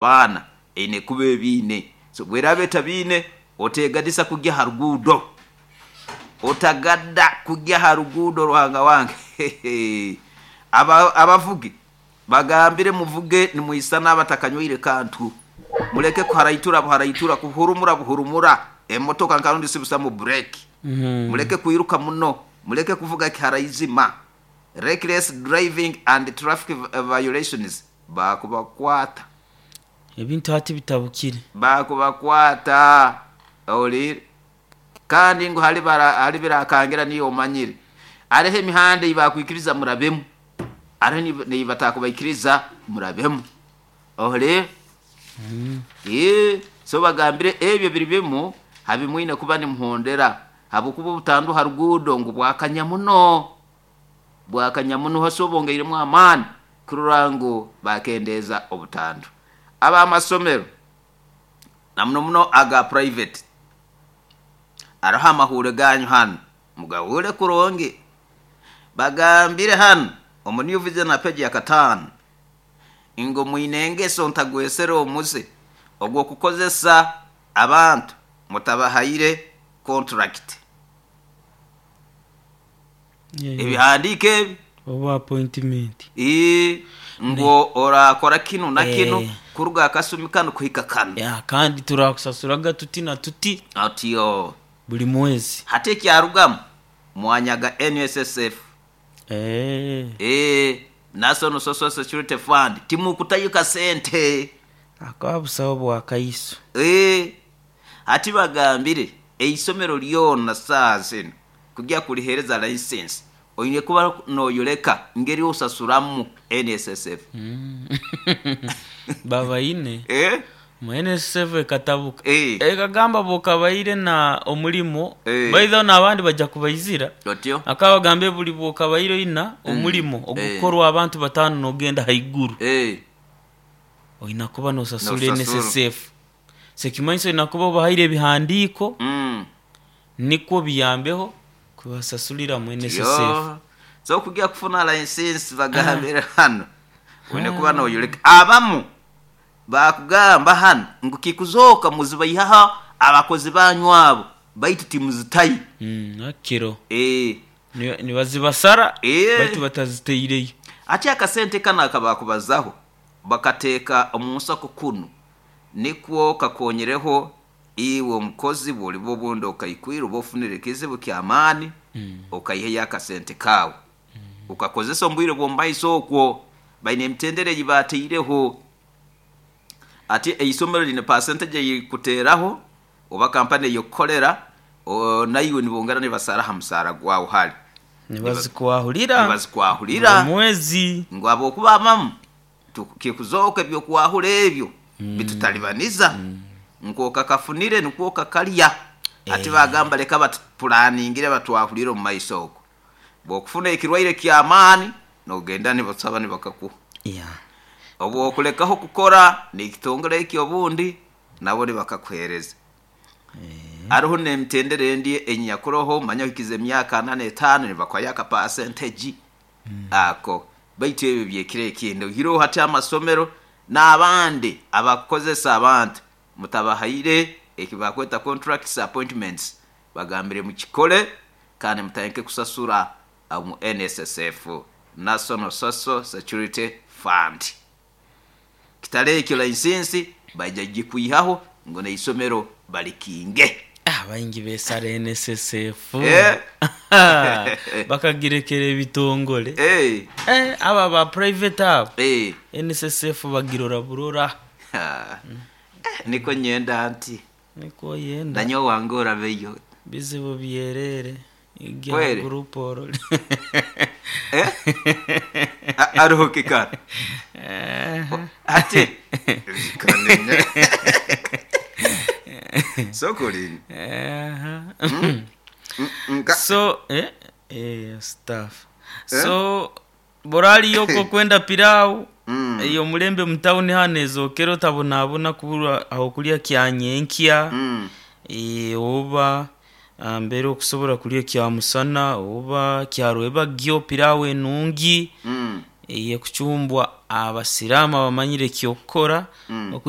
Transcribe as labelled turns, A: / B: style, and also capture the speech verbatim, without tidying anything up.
A: Baana eine kuba ebiine, so bweraba etabiine, otegadisa kujya ha ruguudo, otagadda kujya ha ruguudo. Ruhanga wange, Aba- abavugi bagambire muvuge nimwisana abatakanywire kantu, muleke kuharaitura buharaitura, kuhurumura buhurumura emotoka nkarundi sibusamu bureki. Muleke kwiruka muno, muleke kuvuga kiharaizima. Reckless driving and traffic violations, bakubakwata.
B: Ebintu hati bitabukire.
A: Bakubakwata olire kandi ngu hali bara hali birakangira niyo omanyire areho emihanda eibakwikiriza murabemu, areho neibatakubaikiriza murabemu, olire. Ee, so bagambire ebyo biri bimu habimwine kuba nimuhondera, habwokuba obutandu ha ruguudo ngu bwakanya muno, bwakanya muno. Hasi bongeiremu amaani kurora ngu bakendeeza obutandu. Ab'amasomero na muno muno aga private, aroho amahure ganyu hanu, mugahure kurungi. Bagambire hanu omu New Vision na peji ya kataano ngu mwine engeso ntagwesere omuze ogw'okukozesa abantu mutabahaire contract. Ebihandiiko ebi.
B: Oba appointment.
A: Ii, ngu orakora kinu na kinu
B: Eh.
A: kuruga akasumi kanu kuhika kanu.
B: Ya, kandi turakusasuraga tuti na tuti
A: Otyo.
B: Buli mwezi.
A: Hati ekyarugamu mwanyaga N S S F.
B: Eh.
A: Ee, National Social Security Fund, timukutayo kasente.
B: Akaba busaho bwa kaiso.
A: Ee, hati bagambire eisomero lyona saaha zinu kujya kulihereza license oine kuba noyoleka ngeri osasuramu N S S F.
B: Babaine
A: Eh?
B: mu N S S F ekatabuka.
A: Eh.
B: Ekagamba bwokabaire na omulimo,
A: Eh.
B: baitho n'abandi bajja kubaizira.
A: Otyo.
B: Akabagambe buli bwokabaire oina omulimo ogukorwa abantu batano nogenda haiguru,
A: Eh.
B: oina kuba nosasura
A: Nosasura.
B: N S S F. Sekimanyiso oina kuba obahaire ebihandiiko
A: Mm.
B: nikwo biyambeho kubasasulira mu N S S F.
A: Yo. So kujya kufuna license, bagambire hano oine kuba noyoleka. Abamu bakugamba hano ngu kikuzoka muzibaihaho abakozi banyu abo, baitu timuzitayo.
B: Mm, akiro
A: Eh.
B: Ni- nibazibasara
A: Eh.
B: baitu bataziteireyo.
A: Ati akasente kano akabakubazaho bakateeka omu nsako kunu nikwo kakonyereho iwe omukozi bwoliba obundi okaikwire oba ofunire ekizibu kyamaani, okaiheyo akasente kaawe ukakozesa omu bwire bw'omumaiso. Okwo baine emitendera ei bateireho. Ati eisomero line percentage eyikuteeraho oba kampani eyokukolera, o- naiwe nibongera nibasara ha musaara gwawe hali.
B: Nibazikwahurira.
A: Nibazikwahurira.
B: Buli mwezi.
A: Ngu habwokuba abamu tu- kikuzooka ebyokwahura ebyo bitutalibaniza nkoka kafunire nikwo kakalya. Ati bagamba leka batupulaningire batwahurire omu maiso okwo, bwokufuna ekirwaire kyamaani nogenda nibasaba nibakakuha.
B: Yeah.
A: Obwokulekaho kukora nekitongole ekyo obundi nabo nibakakuhereza. Hariho n'emitendera endi enyakuroho, manya ohikize emyaka ana n'etaano nibakuhayo aka percentage ako, baitu ebyo byekiro ekindi. Oihireho hati amasomero n'abandi abakukozesa abantu mutabahaire ekibakweta contracts, appointments, bagambire mukikole kandi mutandike kusasura omu N S S F, National Social Security Fund. Kitali ekyo license baija gikwihaho ngu n'eisomero balikinge.
B: Ah, baingi besara N S S F.
A: Eh.
B: Bakagirekera ebitongole.
A: Eh,
B: eh, aba ba private abo,
A: eh.
B: N S S F bagirora burora.
A: Ha. Eh, niko nyenda nti
B: Niko yenda.
A: nanyo wange orabeyo.
B: Bizibu byerere.
A: Kweli?
B: Igya group orole.
A: Eh? A- aruhuke kikara ati kanenya sokolini. Nka
B: So eh, eh, staff so boraliyoko kwenda pilau
A: Mm.
B: eyo mulembe mutawuni hano ezokera otabonabona kubura aho kulya kyanyenkya.
A: Mm.
B: Eh, oba ah, mbere okusobola kulya kyamusana oba kyarwebagyo pilau enungi.
A: Mm.
B: Eyekucumbwa abasiraamu abamanyire ekyokukora.
A: Mm.
B: Okwija.